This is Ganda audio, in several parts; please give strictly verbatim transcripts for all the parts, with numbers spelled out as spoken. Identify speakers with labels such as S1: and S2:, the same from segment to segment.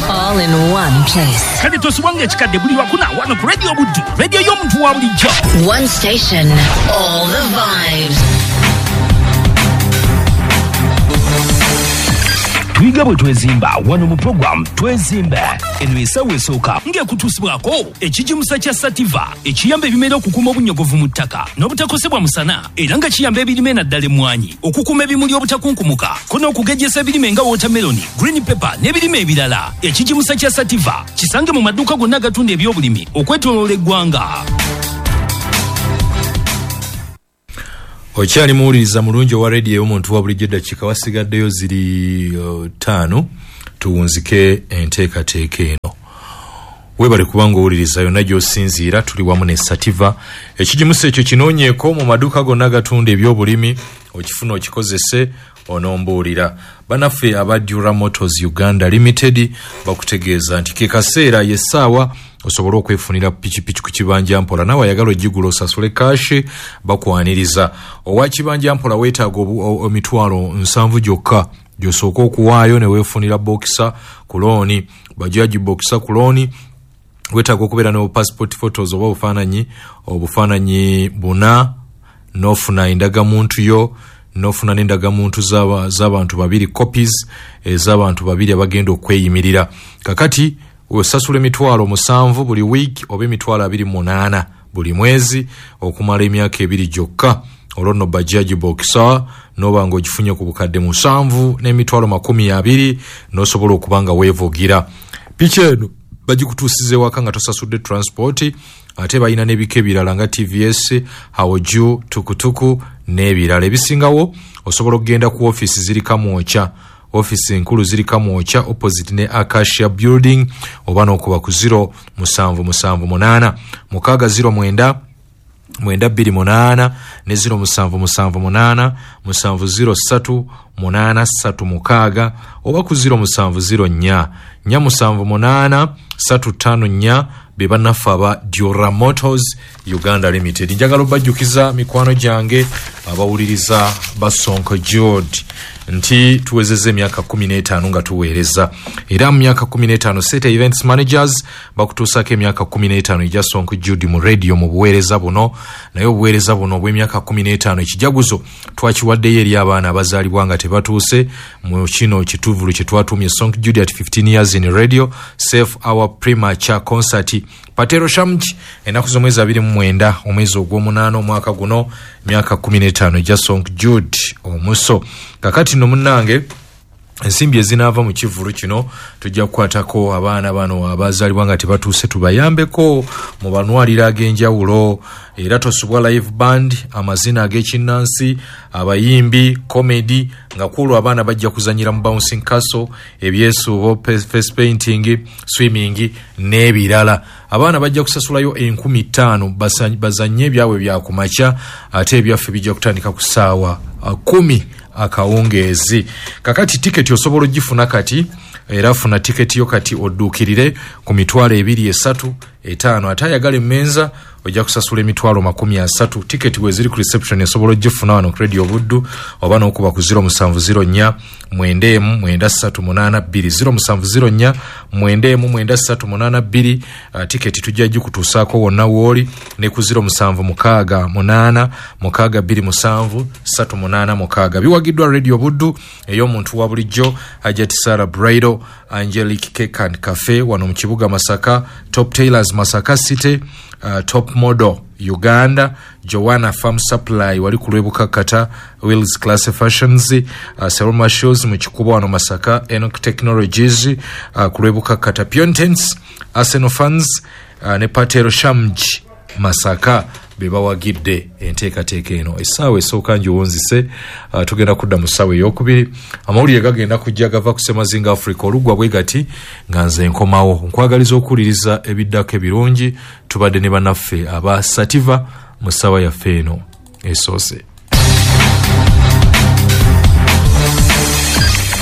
S1: All in one place.
S2: Kale tosubwanga ekikadde buli lwakuna wano ku Radio Buddu, radio y'omuntu wa bulijjo.
S1: One station, all the vibes.
S2: Tuyiga bwe twezimba wano mu program Twezimbe. Eno essaawa esooka ng'ekutuusibwako ekigimusa kya Sativa ekiyamba ebimera okukuuma obunnyogovu mu ttaka n'obutakosebwa musana, era nga kiyamba ebirime naddala emmwanyi okukuuma ebimuli obutakunkumuka ko n'okugejjesa ebirime nga watermelon, green pepper n'ebirime ebirala. Ekigimusa kya Sativa kisange mu maduuka gonna agatunda ebyobulimi okwetooloola eggwanga.
S3: Okyali muwuliriza mulungi owa rediyo ey'omuntu wa bulijjo, eddakiika wasigaddeyo ziri uh, ttaano tuwunzike enteekateeka eno. Weebale kubanga owuliriza yonna gy'osinziira, tuli wamu ne Sativa. Ekigimusa ekyo kinoonyeeko mu maduuka gonna agatunda ebyobulimi, okifuna okikozese onombuulira. Bannaffe aba Dura Motors Uganda Limited bakutegeeza nti ke kaseera y'essaawa osobola okwefunira pikipiki ku kibanja mpola, nawe ayagala ogigula osasule kashi bakwaniriza. Owa kibanja mpola weetaaga emitwalo nsanvu gyokka gy'osooka okuwaayo ne weefunira bokisa ku looni, bajaji bokisa ku looni. Weetaaga okubeera ne passport photos oba obufaananyi obufaananyi buna, n'ofuna endagamuntu yo, n'ofuna n'endagamuntu z'abantu babiri, copies ez'abantu babiri abagenda okweyimirira. Kakati osasula emitwalo musanvu buli wiiki oba emitwalo abiri munaana buli mwezi okumala emyaka ebiri gyokka. Olwo nno bajaji bokisa n'oba ng'ogifunye ku bukadde musanvu n'emitwalo makumi abiri n'osobola okuba nga weevugira. Piki eno bagikutuusiza ewaka nga tosasudde transport, ate balina n'ebika ebirala nga T V S, Hawoju, tukutuku n'ebirala. Ebisingawo osobola okugenda ku ofiisi ziri Kamwokya, ofiisi enkulu ziri Kamwokya opposite ne Acacia Building, oba n'okuba ku zero musanvu musanvu munaana mukaaga zero mwenda mwenda bbiri munaana ne zero musanvu musanvu munaana musanvu zero ssatu munaana ssatu mukaaga oba ku zero musanvu zero nnya nnya musanvu munaana ssatu ttaano nnya. Be bannaffe aba Dura Motors Uganda Limited. Njagala obajjukiza mikwano gyange abawuliriza ba Sonko Jude nti tuwezezza emyaka kkumi n'etaano nga tuweereza, era mu myaka kkumi n'etaano Seta Events Managers bakutuusaako emyaka kkumi n'etaano egya Sonko Jude mu radio mu buweereza buno. Naye obuweereza buno obw'emyaka kkumi n'etaano ekijaguzo twakiwaddeyo eri abaana abazaalibwa nga tebatuuse mu kino kituvulu kye twatuumye Sonko Jude at fifteen years in radio Save Our Premature Concert. Patero Shamji ennaku z'omwezi abiri mu mwenda omwezi ogw'omunaana omwaka guno, emyaka kkumi n'etaano egya Sonko Jude omuso. Kakati nno munnange, ensimbi ezinaava mu kivvulu kino tujja kukwatako abaana bano abazaalibwa nga tebatuuse tubayambeko mu banwaliro ag'enjawulo. Era tosubwa live band, amazina ag'ekinnansi, abayimbi, comedy, nga kwolwo abaana bajja kuzannyira mu bouncing castle, ebyesuubo, face painting, swimming n'ebirala. Abaana bajja kusasulayo enkumi ttaano bazannye ebyabwe bya kumakya, ate ebyaffe bijja kutandika ku ssaawa kumi akawungeezi. Kakati tiketi osobola ogifuna kati, era funa tiketi yo kati odduukirire ku mitwalo ebiri esatu etaano. Ate ayagala emmenza ojja kusasula emitwalo makumi asatu. Tiketi we ziri ku reception osobola ogifuna wano ku Radio Buddu oba n'okuba ku zero musanvu zero nnya mwenda emu mwenda ssatu munaana bbiri zero musanvu zero nnya mwenda emu mwenda ssatu munaana bbiri. Uh, tiketi tujja gikutuusaako wonna w'oli ne ku zero musanvu mukaaga munaana mukaaga bbiri musanvu ssatu munaana mukaaga. Biwagiddwa Radio Buddu ey'omuntu wa bulijjo, Hajati Sarah Braido, Angelic Cake and Cafe wano mu kibuga Masaka, Top Tailors Masaka City, uh, Top Model Uganda, Joanna Farm Supply wali ku Lwebukakata, Wills Class Fashions, uh, Seroma Shoes mu Kikubo wano Masaka, Enoch Technologies uh, ku Lwebukakata, Piontens, Arsenal Fans uh, ne Patero Shamji Masaka be bawagidde enteekateeka eno. Essaawa esooka ngiwunzise, uh, tugenda kudda mu ssaawa ey'okubiri. Amawulire gagenda kujja gava ku Semazinga Africa olugwa bwe gati nga nze nkomawo. Nkwagaliza okuwuliriza ebiddako ebirungi. Tubadde ne bannaffe aba Sativa mu ssaawa yaffe eno esoose.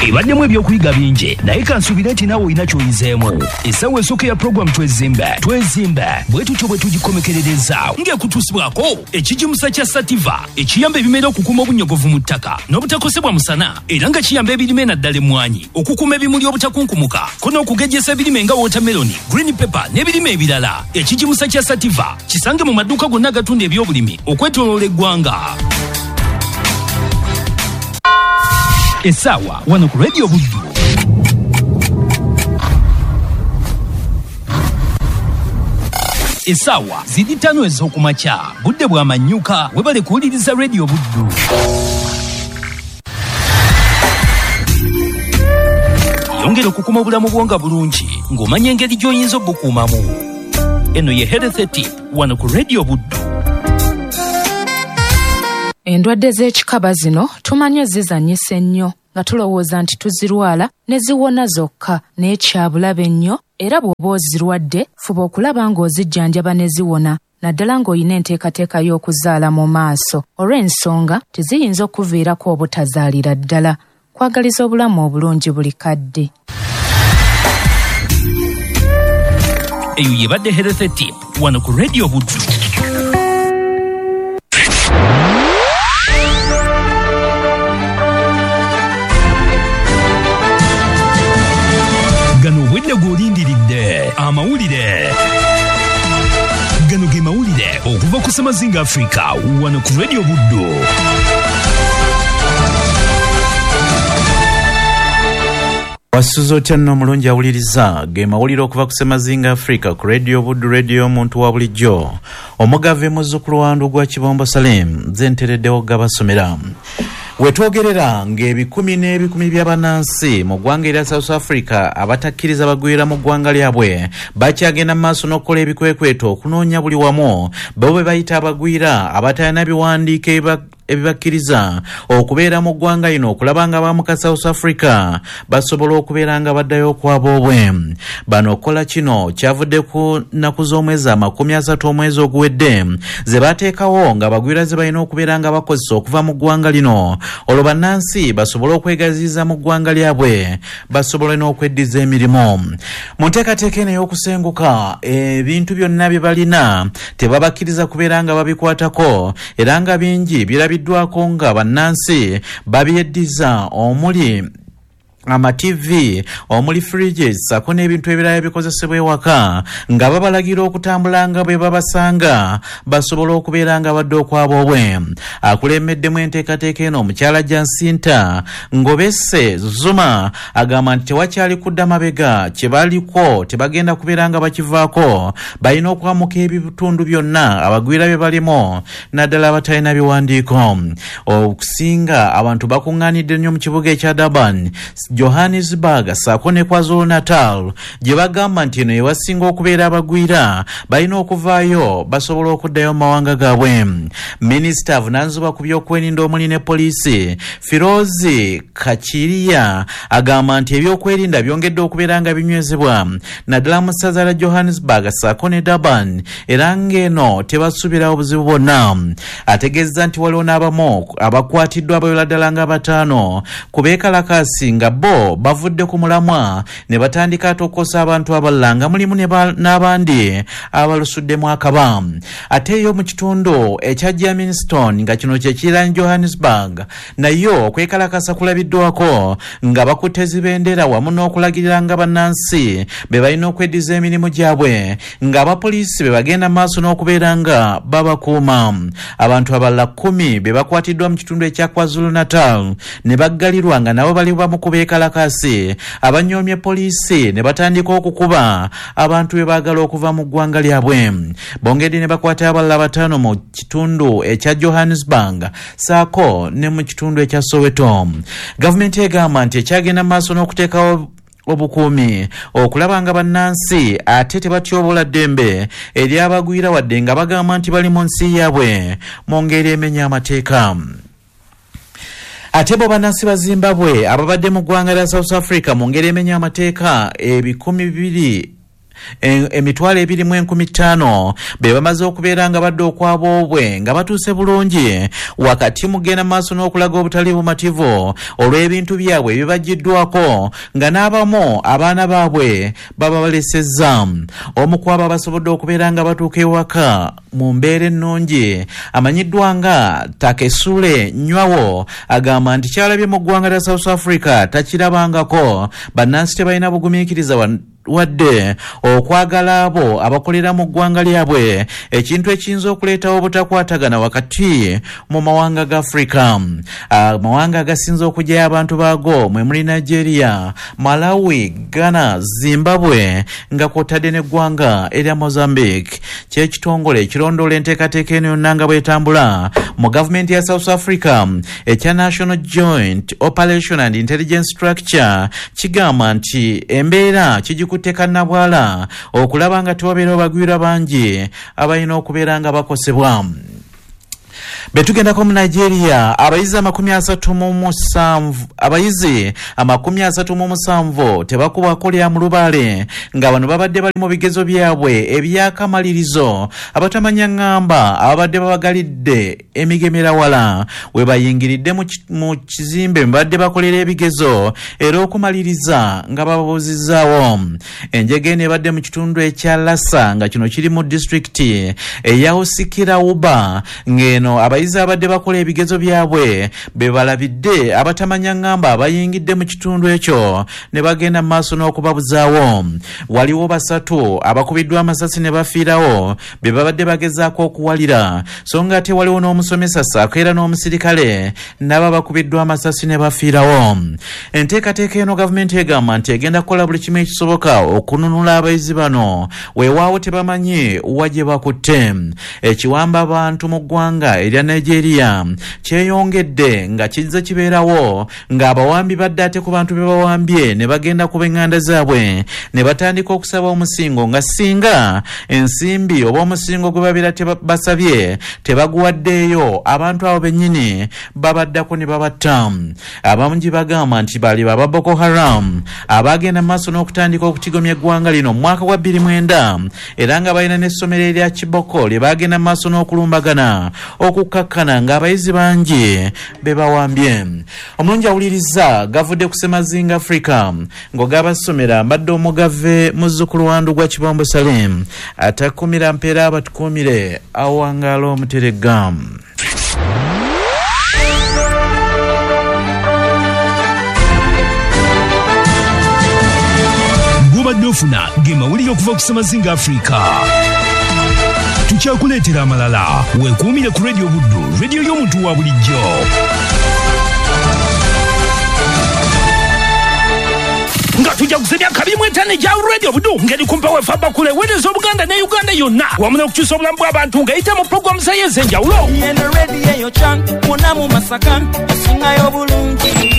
S2: Ebaddemu ebyokuyiga bingi, naye kansuubire nti naawe olina ky'oyizeemu. Essaawa esooka ya puroguramu Twezimbe Twezimbe bwe tutyo bwe tugikomekerereza ng'ekutuusibwako ekigimusa kya Sativa ekiyamba ebimera okukuuma obunyogovu mu ttaka n'obutakosebwa musana, era nga kiyamba ebirime naddala emmwanyi okukuuma ebimuli obutakunkumuka ko n'okugejjesa ebirime nga watermelon, green pepper n'ebirime ebirala. Ekigimusa kya Sativa kisange mu maduuka gonna agatunda ebyobulimi okwetooloola eggwanga. Essaawa wano ku Radio Buddu. Essaawa ziri ttaano ez'okumakya, budde bwa manyuka. Webale kuwuliriza Radio Buddu. Yongera okukuuma obulamu bwo nga bulungi ng'omanya engeri gy'oyinza obukuumamu. Eno ye Health Tip wano ku Radio Buddu.
S4: Endwadde z'ekikaba zino tumanyi zizannyisa ennyo nga tulowooza nti tuzirwala ne ziwona zokka, naye kyabulabe nnyo, era bw'oba ozirwadde fuba okulaba ng'ozijjanjaba ne ziwona, naddala ng'olina enteekateeka y'okuzaala mu maaso, olw'ensonga teziyinza okuviirako obutazaalira ddala. Kwagaliza obulamu obulungi buli kadde.
S2: Eyo yebadde Health Tip wano ku Radio Buddu. Gano obwedde gw'olindiridde amawulire. Gano ge mawulire okuva ku Semazinga Africa wano ku Radio Buddu.
S5: Wasuze otya nno omulungi awuliriza ge mawulire okuva ku Semazinga Africa ku Radio Buddu, radio omuntu wa bulijjo. Omugave muzzukulu wa Ndugwa Kibombo Salim nze ntereddewo gabasomera. Wetwogerera ng'ebikumi n'ebikumi by'abannansi mu ggwanga erya South Africa abatakkiriza bagwira mu ggwanga lyabwe bakyagenda mu maaso n'okukola ebikwekweto okunoonya buli wamu bo be bayita abagwira abatalina biwandiiko ebibakkiriza okubeera mu ggwanga lino okulaba nga abamuka South Africa basobola okubeera nga baddayo okwaboobwe. Bano okukola kino kyavudde ku nnaku z'omwezi amakumi asatu omwezi oguwedde ze bateekawo nga abagwira ze balina okubeera nga bakozesa okuva mu ggwanga lino, olwo bannansi basobole okwegaziyiza mu ggwanga lyabwe basobole n'okweddiza emirimu. Mu nteekateeka eno ey'okusenguka ebintu byonna bye balina tebabakkiriza kubeera nga babikwatako, era nga bingi birabiddwako nga bannansi babyeddiza, omuli ama T V, omuli fridges sako n'ebintu ebirala ebikozesebwa ewaka, nga babalagira okutambula nga bwe babasanga basobola okubeera nga badde okwaboobwe. Akulembeddemu enteekateeka eno omukyala Jacinta Ngobese Zuma agamba nti tewakyali kudda mabega, kye baliko tebagenda kubeera nga bakivaako, balina okwamuka ebitundu byonna abagwira bye balimu naddala abatalina biwandiiko. Okusinga abantu bakuŋŋaanidde nnyo mu kibuga ekya Durban, Johannesburg sako ne KwaZulu Natal gye bagamba nti eno yewasinga okubeera abagwira balina okuvaayo basobola okuddayo mu mawanga gaabwe. Minisita avunaanyizibwa ku byokwerinda omuli ne poliisi Firozi Kachiriya agamba nti ebyokwerinda byongedde okubeera nga binywezebwa naddala mu ssaza lya Johannesburg sako ne Durban, era ng'eno tebasuubirawo buzibu bwonna. Ategeeza nti waliwo n'abamu abakwatiddwa abayola ddala nga bataano ku beekalakaasi nga bo bavudde ku mulamwa ne batandika ate okukosa abantu abalala nga mulimu n'abandi abalusuddemu akaba. Ate yo mu kitundu ekya Germiston nga kino kye kiriraanye Johannesburg nayo okwekalakasa kulabiddwako nga bakutte zibendera wamu n'okulagirira nga bannansi be balina okweddiza emirimu gyabwe, ng'abapoliisi be bagenda maaso n'okubeera nga babakuuma. Abantu abalala kkumi be bakwatiddwa mu kitundu ekya KwaZulu Natal ne baggalirwa nga nabo bali bamu ku beekalakaasi abanyoomye poliisi ne batandika okukuba abantu be baagala okuva mu ggwanga lyabwe. Bongedde ne bakwata abalala bataano mu kitundu ekya Johannesburg saako ne mu kitundu ekya Soweto. Gavumenti egamba nti ekyagenda maaso n'okuteekawo obukuumi okulaba nga bannansi ate tebatyobola ddembe ery'abagwira wadde nga bagamba nti bali mu nsi yaabwe mu ngeri emenya amateeka. Ate bo bannansi ba Zimbabwe ababadde mu ggwanga lya South Africa mu ngeri emenya amateeka ebikumi bibiri Emitwalo ebiri mu enkumi ttaano be bamaze okubeera nga badde okwaboobwe nga batuuse bulungi, wakati mugenda maaso n'okulaga obutali bumativu olw'ebintu byabwe ebibaggiddwako nga n'abamu abaana baabwe baba balesezza. Omu ku abo abasobodde okubeera nga batuuka ewaka mu mbeera ennungi amanyiddwa nga Takesule Nywawo agamba nti kyalabye mu ggwanga lya South Africa takirabangako. Bannansi tebalina bugumiikiriza wadde okwagala abo abakolera mu ggwanga lyabwe, ekintu ekiyinza okuleetawo obutakwatagana wakati mu mawanga ga Afrika. Amawanga agasinze okugyayo abantu baago mwe muli Nigeria, Malawi, Ghana, Zimbabwe nga kw'otadde n'eggwanga erya Mozambique. Kyekitongole ekirondoola enteekateeka eno yonna nga bw'etambula mu gavumenti ya South Africa ekya National Joint Operation and Intelligence Structure kigamba nti embeera kigikutte kannabwala okulaba nga tewabeerawo bagwira bangi abalina okubeera nga bakosebwa. Betugendako mu Nigeria, abayizi amakumi asatu mu musanvu abayizi amakumi asatu mu musanvu tebakubwako lya mulubaale nga bano babadde bali mu bigezo byabwe ebyakamalirizo. Abatamanya ŋŋamba ababadde babagalidde emigemera wala we bayingiridde mu kizimbe babadde bakolera ebigezo era okumaliriza nga bababuuzizzaawo. Enjega eno ebadde mu kitundu ekya Lassa nga kino kiri mu disitulikiti eya Usikirauba ng'eno abayizi abadde bakola ebigezo byabwe be balabidde abatamanya ŋŋamba abayingidde mu kitundu ekyo ne bagenda mu maaso n'okubabuzaawo. Waliwo basatu abakubiddwa amasasi ne bafiirawo be babadde bagezaako okuwalira, so nga ate waliwo n'omusomesa ssaako era n'omusirikale nabo abakubiddwa amasasi ne bafiirawo. Enteekateeka eno gavumenti egamba nti egenda kukola buli kimu ekisoboka okununula abayizi bano, weewaawo tebamanyi wa gye bakutte. Ekiwamba abantu mu ggwanga erya Nigeria kyeyongedde nga kizze kibeerawo ng'abawambi badde ate ku bantu be bawambye ne bagenda ku b'eŋŋanda zaabwe ne batandika okusaba omusingo nga singa ensimbi oba omusingo gwe babeera basabye tebaguwaddeeyo abantu abo bennyini babaddako ne babatta. Abamu bagamba nti bali baba Boko Haram abagenda mu maaso n'okutandika okutigomya eggwanga lino mu mwaka gwa bbiri mwenda era nga balina n'essomero erya Chibok lye bagenda mu maaso n'okulumbagana okukkakkana ng'abayizi bangi be bawambye. Omulungi awuliriza gavudde ku Semazinga Africa ng'ogabasomera mbadde omugave muzzukulu wa Ndugwa Kibombo Salim atakumira mpeera abatukuumire awangaala omuteregga.
S2: Gubadde ofuna ge mawulire okuva ku Semazinga Africa. Tukyakuleetera amalala. Weekuumire ku Radio Buddu, radio y'omuntu wa bulijjo. Nga tujja kusemya kabi mu etaano egya Radio Buddu ngeri kumpa wefa bakule weereza Obuganda ne Uganda yonna wamu n'okukyusa obulamu bw'abantu ng'eyita mu pulogulaamu zayo ez'enjawulo.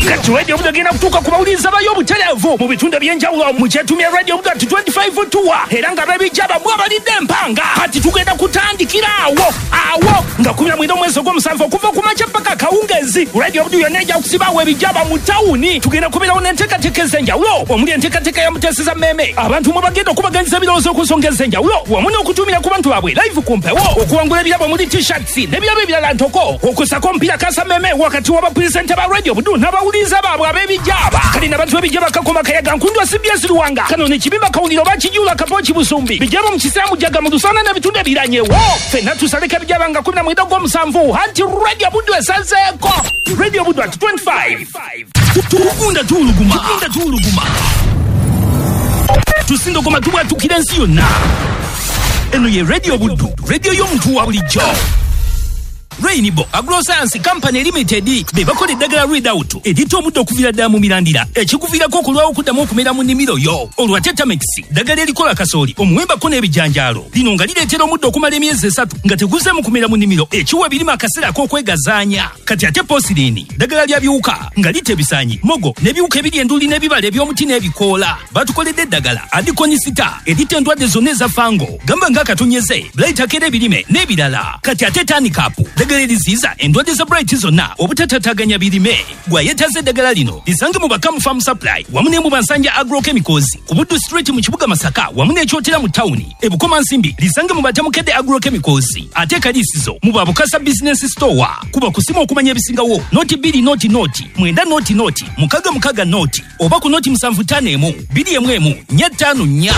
S2: Kati Radio Buddu egenda kutuuka ku bawuliriza bayo obutereevu mu bitundu eby'enjawulo mu kyetumya Radio Buddu at twenty-five tour era nga bebijja bamwe abalidde empanga. Kati tugenda kutandikira awo awo nga kumi na mwenda omwezi ogw'omusanvu okuva ku makya paka akawungeezi. Radio Buddu yonna ejja kusibaawo ebijjaba mu tawuni. Tugenda kubeerawo n'enteekateeka ez'enjawulo omuli enteekateeka ya Muteeseza Mmeeme abantu mwe bagenda okubaganyiza ebirowoozo ku nsonga ez'enjawulo wamu n'okutumira ku bantu baabwe live ku mpewo, okuwangula ebirabo muli t-shirts n'ebirabo ebirala ntoko, okusako omupiira kasa mmeeme wakati w'abapulisente ba Radio Buddu n'abawuliriza baabwe ab'ebijjaba. Kale n'abantu b'ebijja bakakoma kayaga Nkundu C B S Luwanga kano ne Kibimba Kawuliro bakijula Kapoki Busumbi bijjaba mu Kisiramu Jaga mu Lusana n'ebitundu ebiranyewo. Ffenna tusaleko ebijjaba nga kumi na mwenda ogw'omusanvu anti Radio Buddu esazeeko. Radio Buddu at twenty-five. Tugunda tuwuluguma. Tugunda tuwuluguma. Tusindogoma tubwatukira ensi yonna. Eno ye Radio Buddu, radio y'omuntu wa bulijjo. Rainbow Agroscience Company Limited be bakola eddagala Readout erita omuddo okuviira ddala mu mirandira ekikuviirako okulwawo okuddamu okumera mu nnimiro yo. Olwa Tetamix ddagala erikola kasooli, omuwembako n'ebijanjaalo lino nga lireetera omuddo okumala emyezi esatu nga teguzeemu kumera mu nnimiro ekiwa ebirime akaseera ak'okwegazaanya. Kati ate Posirini ddagala lya biwuka nga litta ebisaanyi, mogo n'ebiwuka ebiri enduli n'ebibala eby'omuti n'ebikoola. Batukoledde eddagala Adikonisita eritta endwadde zonna eza fango gamba ng'akatonyeze, blight akera ebirime n'ebirala. Kati ate Tanikapu ddagala Eddagala eriziyiza endwadde za Blight zonna obutatataganya birime. Gwayetaaza eddagala lino lisange mu Bakamu Farm Supply wamu ne mu Bansanja Agrochemicals ku Buddu Street mu kibuga Masaka wamu n'Ekyotera mu tawuni. E Bukomansimbi lisange mu Batamukedde Agrochemicals, ate Kalisizo mu Babukasa Business Store. Kuba kusimu okumanya ebisingawo noti bbiri noti noti mwenda noti noti mukaga mukaga noti oba ku noti musanvu ttaano emu bbiri emu emu nnya ttaano nnya.